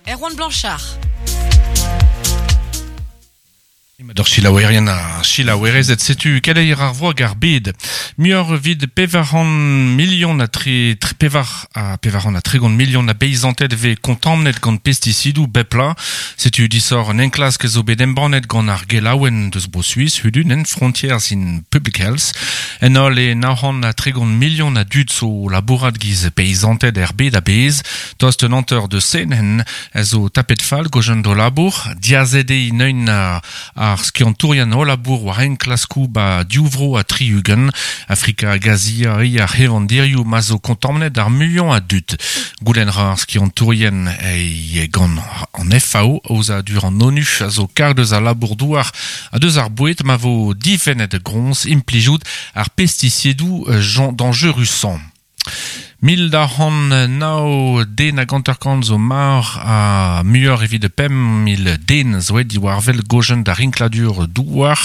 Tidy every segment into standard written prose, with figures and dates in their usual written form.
Erwan Blanchard. D'ur selaouerien ha selaouerezed, setu keleier ar vro hag ar bed. Muioc'h evit 400 milion ha tre, tre, pevar ha 430 milion a beizanted vez kontamnet gant pestisidoù bep bloaz. Setu disoc'h un enklask zo bet embannet gant ar gelaouenn deus Bro-Suis, hudun en Frontiers in Public Health. En holl e 930 milion a dud zo labourat giz peizanted er bed a-bezh. Tost un hanter deus senenn a zo tapet fall gojen d'o labour. Diazet eo neun ar skiantourien o labour war enklaskoù ba div vro ha 60, Afrika hag Azia eo ar c'hevandirioù ma zo kontamnet ar muiañ a dud. Goulenn ra ar skiantourien e gant an FAO, aozadur an ONU, a zo karg deus al labour-douar ha deus ar boued ma vo difennet groñs implijout ar pestisidoù dañjerusañ. 1209 den hag 50 zo marv ha muioc'h evit 5000 den zo aet diwar-wel gojenn da rinkladur douar,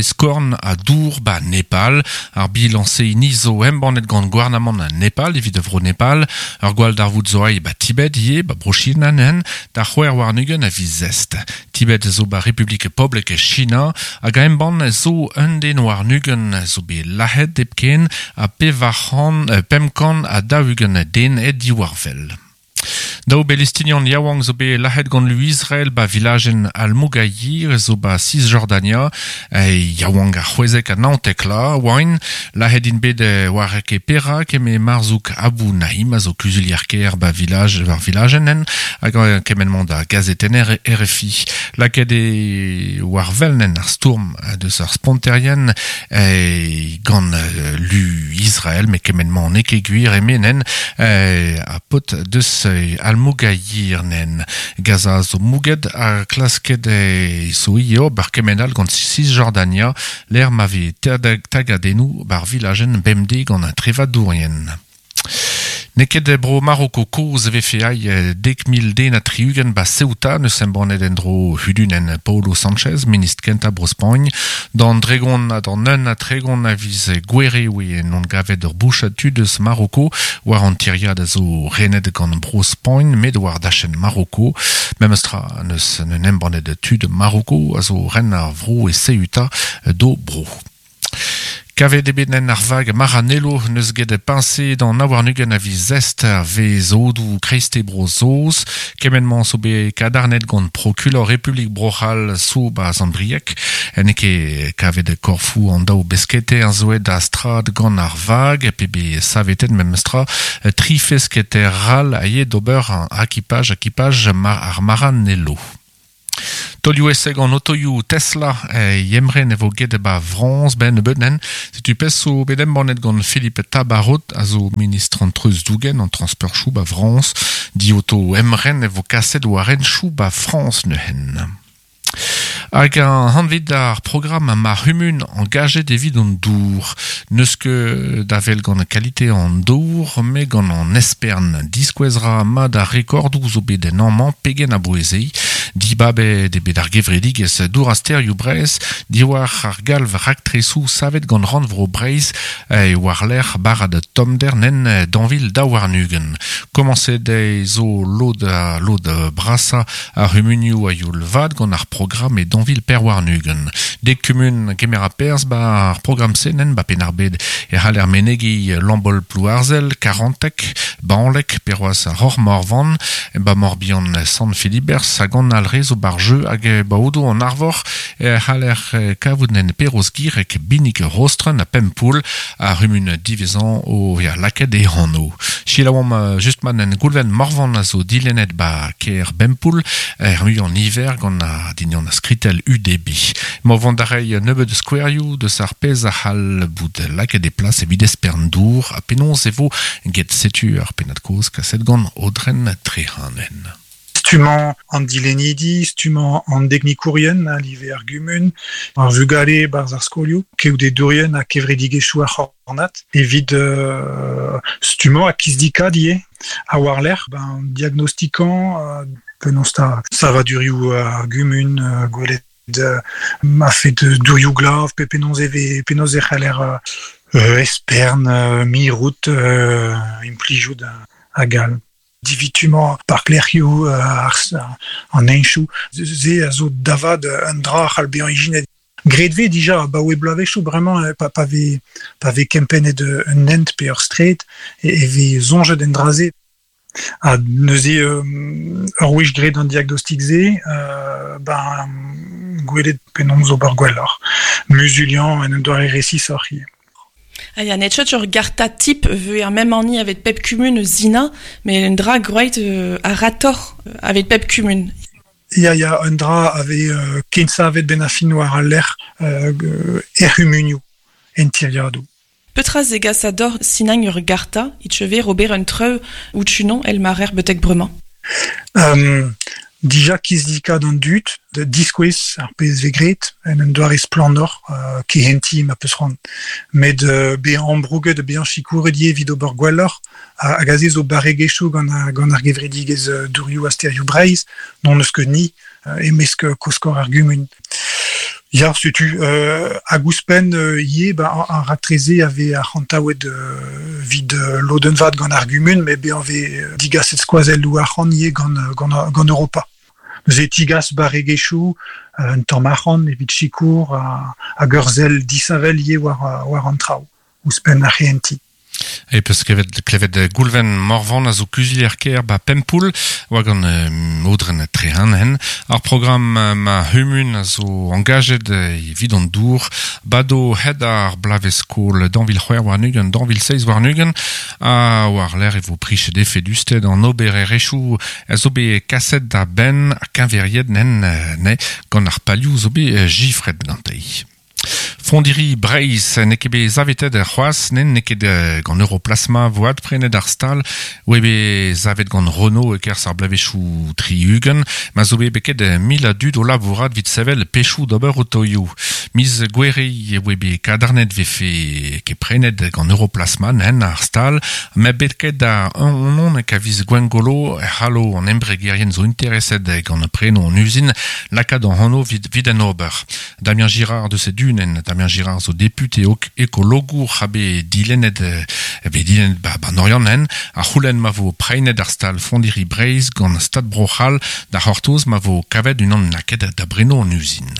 skorn ha dour ba Nepal. Ar bilañs-se hini zo embannet gant gouarnamant Nepal evit vro Nepal. Ur gwalldarvoud zo aet ba Tibet ivez, ba Bro-China neuze, d'ar 26 a viz Est. Tibet zo ba Republik Poblek China hag a embann zo un den warn-ugent zo bet lazhet hepken ha 440 den aet diwar-wel. Daou Belestinian yaouank zo bet lazhet gant lu Israel ba vilajenn Al-Mughayyir zo ba Cisjordania. Yaouank a 16 ha 19 la oaint. Lazhet int bet war ket perak eme Marzouk Abou Naim a zo kuzulier-kêr ba vilaj war vilajenn en hag kement-mañ da gazetenner RFI. Lakaet eo war wel en ar stourm deus ar sponterien gant lu Israel, met kement-mañ n'eo ket gwir eme nen ha paotr deus Al-Mughayyir nen. Gaza zo mouget ha klasket zo ivez ober kement all gant Cisjordania, lec'h ma vez tagadennoù bar vilajenn bemdez gant an trevadourien. N'eo ket bro Maroko kozh e vefe ai 10,060 ba Ceuta, neus embannet en-dro hudunenn Paolo Sanchez, ministr kentañ Bro-Spagn. D'an 30 ha d'an 31 a viz Gouere oe en gavet ur bouchad tud eus Maroko war an tiriad a zo renet gant Bro-Spagn, met war dachenn Maroko. Memes tra neus un embannet tud Maroko a zo ren ar vro e Ceuta d'o bro. Kavet eo bet en ar vag Maranello n'eus get peñse d'an 29 a viz Est a vez odoù kreiste Bro-Saoz. Kement-mañ zo bet kadarnet gant prokulor Republik Bro-C'hall zo ba Sant-Brieg. N'eo ket kavet korfoù an daou besketer zo aet da strad gant ar vag, pe bet savetet memestra tri fesketer all a ye d'ober akipaj akipaj ar Maranello. Taolioù eseg an otoioù Tesla yemren e vo get ba Frañs ben nebeut nen. Setu pezh zo bet embannet gant Philippe Tabarot a zo ministr an treuzdougen an transportchoù ba Frañs. Dioto emren e vo kaset war hentchoù ba Frañs neuzen. Hag an hanvet ar programm ma c'humun engajet evit an dour. N'eus ket da wel gant kalite an dour, met gant an espern. Diskouez ra mat ar rekordoù zo bet en amañ pegen a-bouez eo. Dibabet eo bet ar gevredigezh Dour ha Stêrioù Breizh diwar ar galv raktresoù savet gant Rannvro Breizh war-lerc'h barrad tommder nen dañvil 2022. Komañset eo zo lod lod brasañ ar c'humunioù a-youl vat gant ar programm e dañvil 24. Dek kumun kemer a perzh ba ar programm-se nen ba Penn-ar-Bed e c'haller menegiñ Lambol-Plouarzel, Karanteg, Bañleg, pe c'hoazh Roc'h-Morvan, ba Morbihan Sant-Filiberzh hag an Alre zo bar jeu hag ba Odo an Arvor e c'haller kavout nen Perroz-Gireg, Binig, Rostren ha Pempoull ar c'humun diwezhañ o vezañ lakaet e anv. Selaouomp just ma nen Goulven Morvan a zo dilennet ba kêr Bempoull er muiañ niver gant ar dinion skritell UDB. Emañ vont da reiñ nebeut skouerioù deus ar pezh a c'hall bout lakaet e plas evit espern dour ha penaos e vo get setu ar pennad-kaoz kaset gant Aodren Trehanen. Stummañ an dilennidi, stummañ an deknikourien a live ar gumun, ar vugale 'barzh ar skolioù, keodedourien ha kevredigezhioù ar c'hornad evit stummañ ha kizdikaat ivez. Ha war-lerc'h, ben, diagnostikañ penaos 'ta savadurioù ar gumun, gwelet ma fait dourioù glav pe penaos e vez penaos e c'haller espern, mirout, implijout hag all. Divitumañ parklec'hioù an heñchoù, se a zo da vat un dra a c'hall bezañ ijinet. Graet vez dija abaoe bloavezhioù bremañ pa, pa vez pa vez kempennet un hent pe ur straed e vez soñjet en dra-se. Ha neuze ur wech graet an diagnostik-se, ben gwelet penaos ober gwelloc'h. Muzuliañ en un doare resisoc'h ivez. Ah ya, net ur garta type veu ar mem anni avec pep kumun zina, mais un dra groeit a rator avec pep kumun. Ya, ya, un dra ave kensavet ben a fin war al lec'h er c'humunioù, en tiriadoù. Petra zegas ador sinagn ur garta, it cheve ober un treu ou tunon el marer betek bremañ. Dija kizidikat an dud, da diskouez ar pezh vez graet en un doare splannoc'h kehentiñ ma peus c'hoant. Met bezañ ambrouget ha bezañ sikouret ivez evit ober gwelloc'h hag aze zo barregezhioù gant ar, gant ar gevredigezh Dourioù ha Stêrioù Breizh, n'hon eus ket ni e-mesk koskor ar gumun. Ya, setu hag ouzhpenn ivez ba, ar raktres-se a vez arc'hantaouet evit lodenn vat gant ar gumun, met bezañ vez digaset skoazelloù arc'hant ivez gant, gant, gant Europa. Neuze e tigas barregezhioù, un tamm arc'hant evit sikour hag ur sell disheñvel ivez war, war an traoù, ouzhpenn ar c'hehentiñ. E peus klevet, klevet Goulven Morvan a zo kuzulier-kêr ba Pempoull, oa gant Aodren Trehan. Ar programm ma c'humun a zo engajet evit an dour bado hed ar bloavezh-skol 2026, 2027, ha war-lerc'h e vo prichet efedusted an obererezhioù a zo bet kaset da benn ha keñveriet nen ne gant ar palioù zo bet jifret gante. Fondiri Breizh n'eo ket bet savetet c'hoazh, nen n'eo ket gant Europlasma vo adprenet ar stal, oe bet savet gant Renault e-kerzh ar bloavezhioù 60, ma zo bet beket mil a dud o labourat evit sevel pechoù d'ober otoioù. Miz Gouere e oe bet kadarnet vefe ket prenet gant Europlasma nen ar stal, met bet ket da un on a viz Gwengolo e c'hallo an embregerien zo intereset gant preno an uzin lakaat an anv evit, evit an ober. Damien Girard deus e dunen, Damien Girard zo député ekologour ha bet dilennet, bet dilennet ba, ba Oriant a c'houlenn ma vo prenet ar stal Fondiri Breizh gant Stad Bro-C'hall da c'hortoz ma vo kavet unan naket da breno an uzin.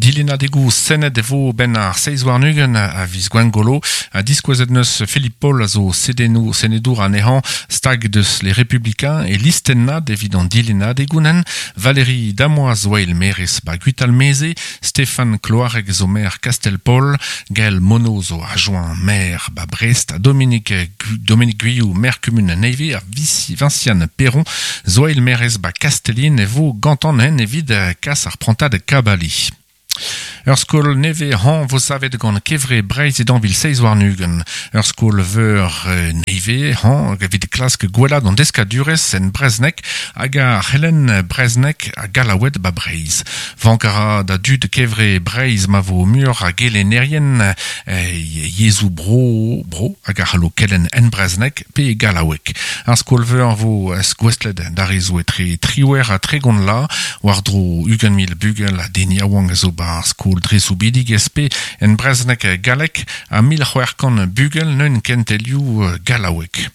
Dilennadegoù Sened e vo ben ar seiz warn-ugent a viz Gwengolo ha diskouezet neus Philippe Paul a zo sedenou, senedour anezhañ stag deus les Républicains e listennad evit an dilennadegounen Valérie Damois zo eil maerez ba Gwitalmeze, Stéphane Cloarec zo maer Kastel-Paol, Gaël Monod zo adjoint maire ba Brest, ha Dominique, Dominique Guillou maer kumun Neve ha Vinciane Perron zo eil maerez ba Kastellin e vo gantan hen evit kas ar prantad kabali. Ur skol nevez hañv vo savet gant Kevre Breizh e 2026. Ur skol veur nevez hañv evit klask gwellaat an deskadurezh en brezhoneg hag ar c'helenn brezhoneg ha gallaoued ba Breizh. Vank a ra da dud Kevre Breizh ma vo muioc'h a gelennerien yezhoù bro, bro hag a c'hallo kelenn en brezhoneg pe e gallaoueg. Ar skol-veur vo gouestlet d'ar re zo etre triwec'h ha tregont la, war-dro 20 000 bugel ha den yaouank a zo ba ar skol dre soubidigezh pe en brezhoneg gallek ha 1600 bugel neun kentelioù gallaoueg.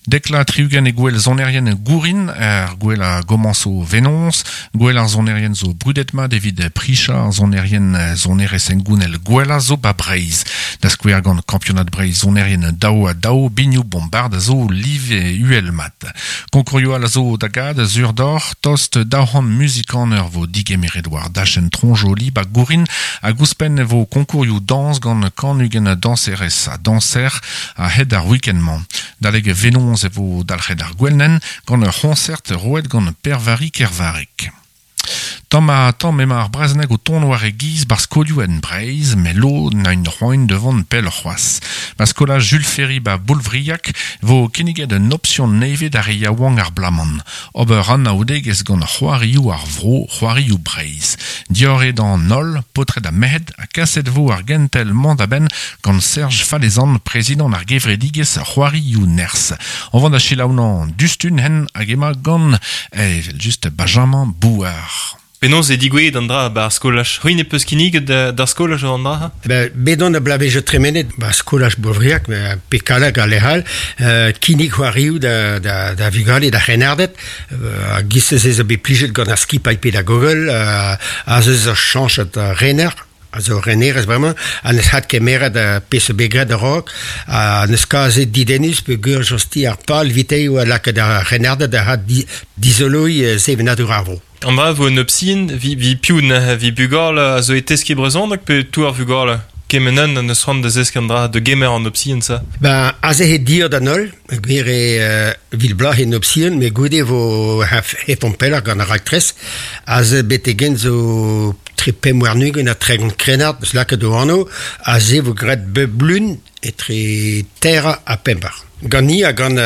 Dekla 60 e gwel sonerien gourin, ar gwel a gomañso venoñs, gwel ar sonerien zo brudet mat evit pricha ar sonerien sonerezh hengounel gwella zo ba Breizh. Da skouer gant kampionad Breizh sonerien daou ha daou, binioù bombard a zo live uhel mat. Konkourioù all a zo da gad sur doc'h, tost 200 muzikaner vo digemeret war dachenn Tronjoli ba Gourin hag ouzhpenn e vo konkourioù dañs gant 120 dañserez ha dañser a-hed ar week-end-mañ. Daleg venoñs e vo dalc'het ar gwelnen gant ur c'hoñsert roet gant Per-Vari Kervareg. Tamm ha tamm emañ ar brezhoneg o tont war e giz bar skolioù en Breizh, met lod na un c'hoant da vont pell c'hoazh. Ba skolaj Jules Ferry ba Boulvriag vo kinniget un option nevez d'ar re yaouank ar blaman. Ober anaoudegezh gant c'hoarioù ar vro, c'hoarioù Breizh. Diorre d'an holl, paotred ha merc'hed, ha kaset vo ar gentel mañ da benn gant Serge Falezan, prezidant ar gevredigezh c'hoarioù nerzh. On va da selaounañ dustun hen hag emañ gant evel just Benjamin Bouard. Penaos e digouezhet an dra 'ba ar skolaj? C'hwi ne peus kinniget d'ar skolaj an dra? Ben, bet on a blavezhioù tremenet 'ba skolaj Boulvriag, pe Kallag ha lec'h all, kinnig c'hoarioù da, da, da vugale, da c'hrennarded. Ha giz se zo bet plijet gant ar skipailh pedagogel, ha ze zo chañchet rener, a zo renerez bremañ, ha neus hat kemeret pezh zo bet graet a-raok, ha neus kazet didennus peogwir josti ar pal evite oa lakaet ar c'hrennarded da hat dizoloiñ sevenadur ar vro. An dra vo un option, vi, vi piv neuze, vi bugale a zo e teskiñ brezhoneg pe tout ar vugale? Kement un neus c'hoant da zeskiñ an dra, da gemer an option ça? Ben, aze he dir d'an holl, gwir eo vil bloaz en option, met goude vo hefomp pelloc'h gant ar raktres. Aze betek-henn zo tre 25 ha 30 krennard eus lakaet o anv, aze vo graet bep lun etre teir ha pemp eur. Gant-ni ha gant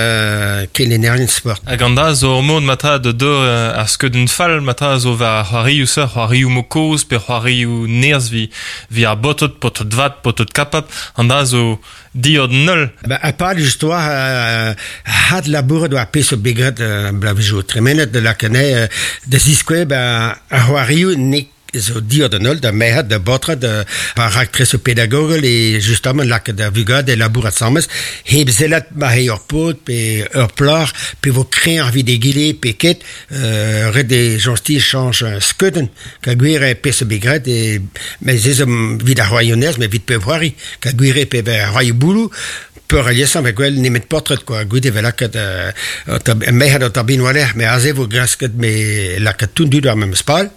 kelennerien sport. Hag an dra zo ur mod matra da dor ar skeudenn fall matra zo war ar c'hoarioù-se, c'hoarioù mo kozh pe c'hoarioù nerzh vi, vi ar baotred, paotred vat, paotred kapab. An dra zo diod null. Ba, ha pad just oa had labouret war pezh zo bet graet bloavezhioù tremenet da lakaat anezhe da ziskouez ba ar c'hoarioù n'eo zo diot an holl da merc'hed, da baotred, war raktresoù pedagogel e justamant lakaat ar vugale labourat asambles, hep sellat ma eo ur paotr pe ur plac'h, pe vo kreñv evit egile pe ket, ret eo soñj chañch skeudenn, ka gwir eo pezh zo bet graet, e, met se zo evit ar c'hoarioù-nerzh, met evit pep c'hoari, ka gwir eo pe ar c'hoarioù bouloù, peurliesañ vez gwell nemet paotred kwa goude vez lakaet merc'hed an tabin war-lerc'h met aze vo klasket me lakaat tout an dud war memes pal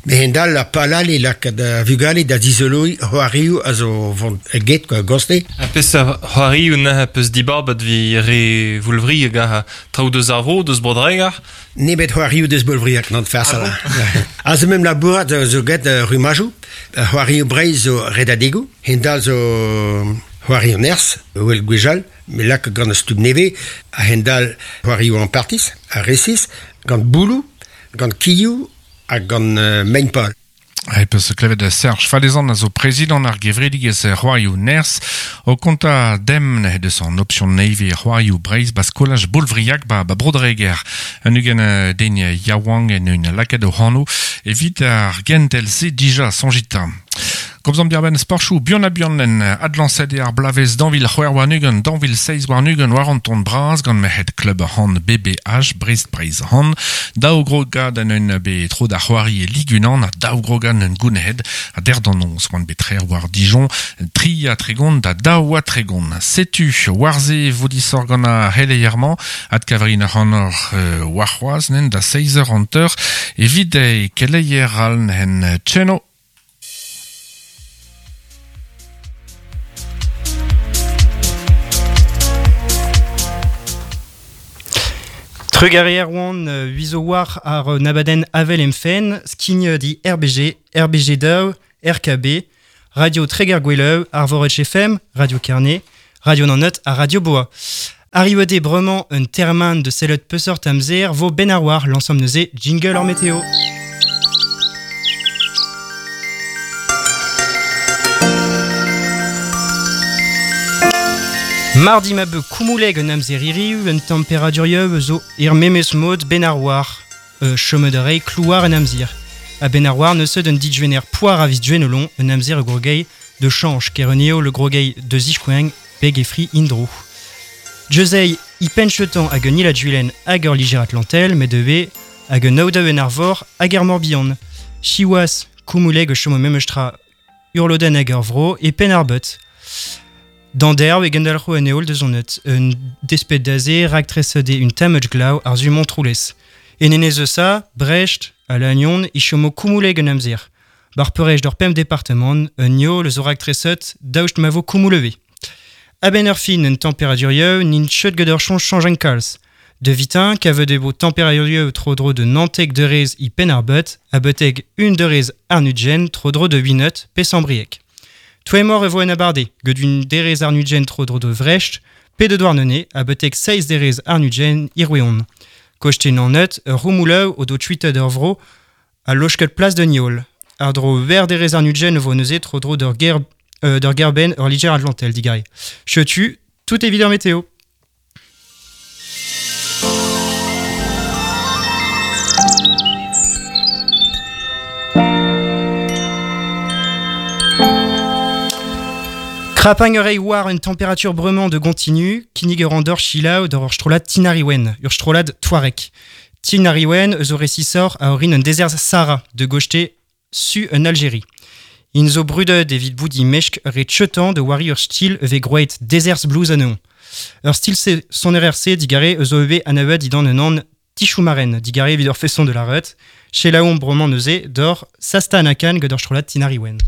met hend-all ar pal all eo lakaat ar vugale da zizoloiñ c'hoarioù a zo vont get kwa goste. Ha peseurt c'hoarioù neuze peus dibabet evit re Voulvriag ha traoù deus ar vro, deus Bro-Dreger? Nemet c'hoarioù deus Boulvriag, n'an farsal. Aze mem labourat zo get rumajoù. C'hoarioù Breizh zo redadegoù, hend-all zo c'hoarioù nerzh, wel gwechall, me lak gant ar stumm nevez, a-hend-all c'hoarioù ampartiz, ha resis, gant bouloù, gant kilhoù ha gant mein-pal. E peus klevet Serge Falezan a zo prezidant ar gevredigezh c'hoarioù nerzh o kontañ demp he deus an option nevez c'hoarioù Breizh ba skolaj Boulvriag ba, ba Bro-Dreger. Un ugent den yaouank en un lakaet o c'hano evit ar gentel-se dija soñjit. Komzomp diarbenn sporchoù buan-ha-buan en adlañset eo ar bloavezh 2026, 2027 war an ton bras gant merc'hed klub hand BBH Brest Breizh Hand. Daou grogad en un bet tro da c'hoari e Ligue 1 ha daou grogad en gounezet ha der d'an noz oant bet trec'h war Dijon 33 da 32. Setu war-se vo disoc'h gant ar c'heleier-mañ adkavrin ac'hanoc'h warc'hoazh nen da 6h50 evit keleier all en tcheno. Trugarez Erwan, huizo war ar nabadenn Avel em fenn, skign di RBG, RBG Daou, RKB, Radio Treger-Gweleù, Arvoret FM, Radio Kerne, Radio Nannet ha Radio Boa. Arrivet eo bremañ un termen de sellet peseurt amzer vo ben ar war l'ensemble neuze jingle hor météo. Mardi ma beu koumouleg un amzer hiriv, un tempéradurioù zo er memes mod ben ar war. Chomet a rei klouar en amzer. A ben ar war neus un dijvener poar a viz duenolon, un amzer grogei de change kereneo le grogei de zichkoeng beg e fri indro. Josei i penchetan hag un il hag ur liger atlantel, met de hag un aodaou en arvor hag er morbihan. Chiwas, koumouleg chomo memestra urloden hag ur vro e pen ar beut. D'an derv e gendalc'ho en eol deus an eut, un despet d'aze raktres de un tammuch glav ar zu Montroulez. En enez eus a, Brest, ha Lannion, e chomo koumouleg un amzer. Bar peurej d'ur pemp departement, un yo le zo raktreset daoust ma vo koumouleve. A-benn ur fin un tempéradurioù n'int cheut get ur choñj chañj kalz. De vitin, kavet eo tempéradurioù tro-dro de nantek derez i penn ar beut, a beuteg un derez arnudgen tro-dro de 8 pe sambriek. Toemor e vo en abarde, get un derez arnudgen tro-dro de Vrecht, pe de Douarnenez, a beuteg 6 derez arnudgen irweon. Kochte nannet, ur roumouleu o do tuitet ur vro, a lochket plas de Niol. Ar dro ver derez arnudgen vo neuze tro-dro d'ur ger, d'ur gerben ur liger atlantel digare. Chetu, tout evit ar météo. Krapang ur war un température bremañ de continu, kinnig ur andor chilaou d'ur strolad Tinariwen, ur strolad Touareg. Tinariwen eus o resisor a orin un dezerz Sahara de gochte su en Algérie. In zo brudet evit bout i mesk re tchetan de wari ur stil eve groet dezerz blues aneon. Ur stil se son RRC digare eus o eve anavet idan un an tichoumaren digare evit ur feson de la rut, chelaon bremañ neuze d'or sasta anakan gant ur strolad Tinariwen.